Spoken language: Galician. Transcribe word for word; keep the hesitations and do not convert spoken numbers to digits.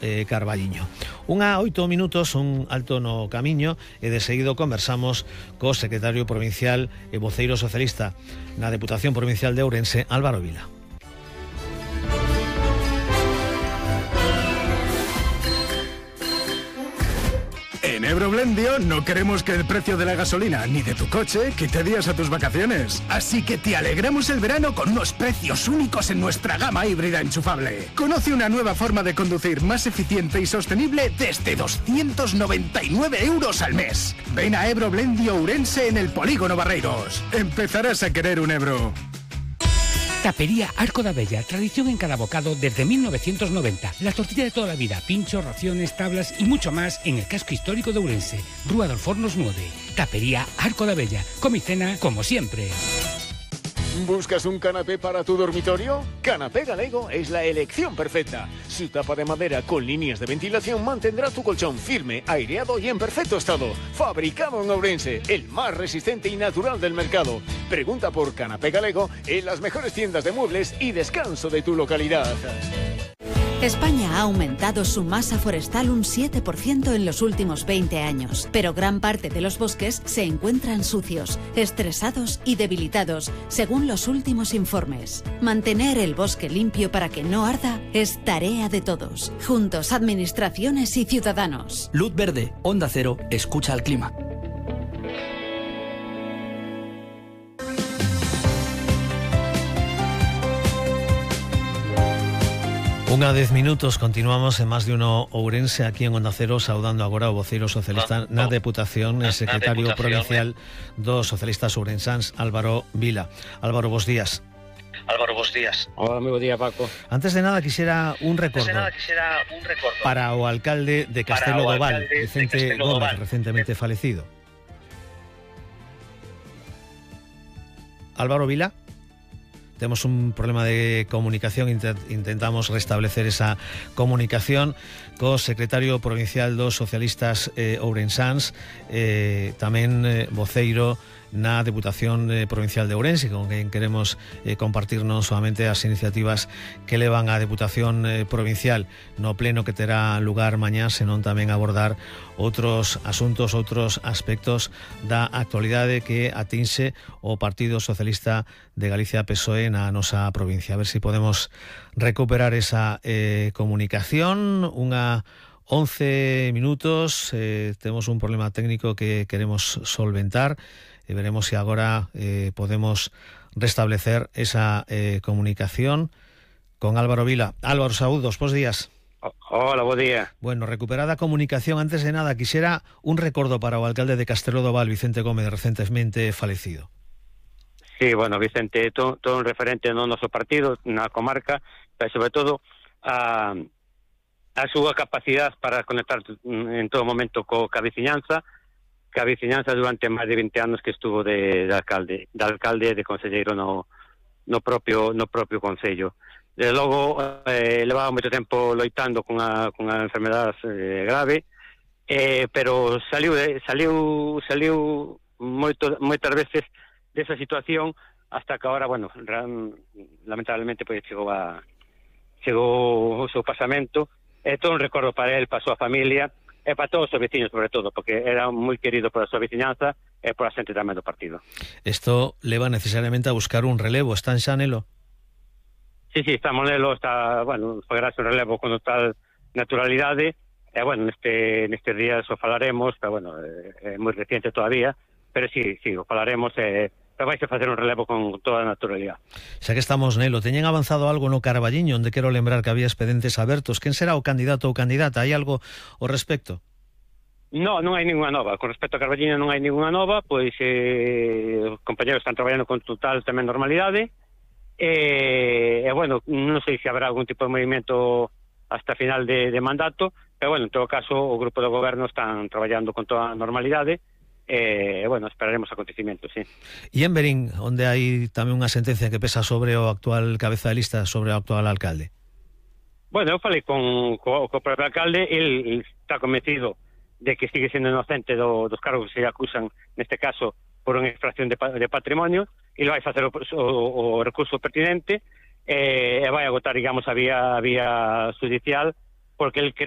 eh, Carballiño. Unha oito minutos, un alto no camiño, e de seguido conversamos co secretario provincial e voceiro socialista na Deputación Provincial de Ourense, Álvaro Vila. En Ebroblendio no queremos que el precio de la gasolina ni de tu coche quite días a tus vacaciones. Así que te alegramos el verano con unos precios únicos en nuestra gama híbrida enchufable. Conoce una nueva forma de conducir más eficiente y sostenible desde doscientos noventa y nueve euros al mes. Ven a Ebroblendio Ourense en el Polígono Barreiros. Empezarás a querer un Ebro. Tapería Arco da Bella, tradición en cada bocado desde mil novecientos noventa. La tortilla de toda la vida, pinchos, raciones, tablas y mucho más en el casco histórico de Ourense. Rúa dos Fornos nueve. Tapería Arco da Bella. Come y cena como siempre. ¿Buscas un canapé para tu dormitorio? Canapé Galego es la elección perfecta. Su tapa de madera con líneas de ventilación mantendrá tu colchón firme, aireado y en perfecto estado. Fabricado en Ourense, el más resistente y natural del mercado. Pregunta por Canapé Galego en las mejores tiendas de muebles y descanso de tu localidad. España ha aumentado su masa forestal un siete por ciento en los últimos veinte años, pero gran parte de los bosques se encuentran sucios, estresados y debilitados, según los últimos informes. Mantener el bosque limpio para que no arda es tarea de todos, juntos administraciones y ciudadanos. Luz verde, Onda Cero, escucha al clima. Unha dez minutos, continuamos en Más de Uno Ourense, aquí en Onda Cero, saudando agora o voceiro socialista na Deputación e secretario provincial dos socialistas ourensáns, Álvaro Vila. Álvaro, bos días. Álvaro, bos días. Hola, moi bo día, Paco. Antes de nada, quixera un recordo, nada, quixera un recordo para o alcalde de Castelo do Val, Vicente Gómez, recentemente falecido. Álvaro Vila. Temos un problema de comunicación, intentamos restablecer esa comunicación co secretario provincial dos socialistas eh, ourensáns, eh, tamén eh, voceiro na Deputación eh, Provincial de Ourense, con quen queremos eh, compartir non solamente as iniciativas que levan á Deputación eh, Provincial no pleno que terá lugar mañá, senón tamén abordar outros asuntos, outros aspectos da actualidade que atinxe o Partido Socialista de Galicia P S O E na nosa provincia. A ver se si podemos recuperar esa eh, comunicación. Unha once minutos, eh, temos un problema técnico que queremos solventar e veremos se agora eh, podemos restablecer esa eh, comunicación con Álvaro Vila. Álvaro, saúdos, bos días. Hola, bo día. Bueno, recuperada a comunicación, antes de nada, quixera un recordo para o alcalde de Castelo do Val, Vicente Gómez, recentemente falecido. Sí, bueno, Vicente, todo, todo un referente no noso partido, na comarca, pero sobre todo a, a súa capacidade para conectar en todo momento co, ca veciñanza, ca veciñanza durante máis de vinte anos que estuvo de, de alcalde, de alcalde de conselleiro no, no propio no propio concello. Desde logo, eh, levaba moito tempo loitando con a, con a enfermedade eh, grave, eh, pero saliu, saliu, saliu moito, moitas veces desa situación hasta que agora, bueno, lamentablemente pues, chegou a chegou o seu pasamento. É todo un recordo para él, para a súa familia e para todos os veciños, sobre todo, porque era moi querido por a súa veciñanza e por a xente tamén do partido. Isto leva necesariamente a buscar un relevo, está en xa nelo? Sí, sí, está Monelo, está, bueno, fogarase un relevo con total naturalidade, e, bueno, neste, neste día o falaremos, pero, bueno, é, é moi reciente todavía, pero sí, sí, o falaremos, e, pero vais a facer un relevo con toda a naturalidade. Xa que estamos nelo, teñen avanzado algo no Carballiño, onde quero lembrar que había expedientes abertos. Quen será o candidato ou candidata? Hai algo ao respecto? No, non hai ninguna nova. Con respecto a Carballiño non hai ninguna nova, pois eh, os compañeros están traballando con total tamén normalidade, e, e bueno, non sei se habrá algún tipo de movimento hasta final de, de mandato, pero bueno, en todo caso o grupo de goberno están traballando con toda a normalidade, e, bueno, esperaremos acontecimentos, sí. E en Berín, onde hai tamén unha sentencia que pesa sobre o actual cabeza de lista, sobre o actual alcalde? Bueno, eu falei con, co, co propio alcalde, el está convencido de que sigue sendo inocente do, dos cargos que se acusan, neste caso, por unha infracción de, de patrimonio, e vai facer o, o, o recurso pertinente, e, e vai agotar, digamos, a vía, a vía judicial, porque el cree